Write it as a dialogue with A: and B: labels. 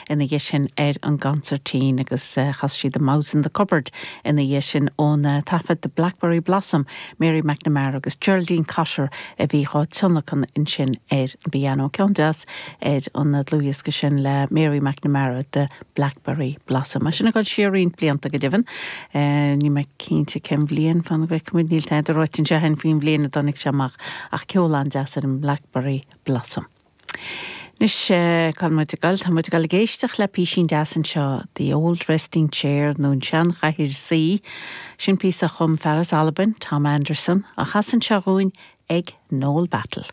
A: ina dhiaidh sin ar an gconsairtín agus chas sí The Mouse in the Cupboard ina dhiaidh sin ón taifead The Blackberry Blossom, Mary McNamara agus Geraldine Cotter a bhí dhá tionlacan ansin ar an bpianó. Ceann deas ar an dlúthdhiosca sin le Mary McNamara, The Blackberry Blossom. É sin ag dul siar roinnt blianta go deimhin. Níl mé cinnte cén bhliain, fan go bhfeicfidh muid, níl tada ráite anseo againn faoin bhliain a dtáinig sé amach ach ceol an-deas ar an mBlackberry Blossom. Anois, cá bhfuil muid ag dul? Tá muid ag dul ag éisteacht le písín deas anseo, The Old Resting Chair nó an Seanchathaoir Suí. Sin píosa a chum fear as Albain, Tom Anderson, á chasadh anseo dhúinn ag Noel Battle.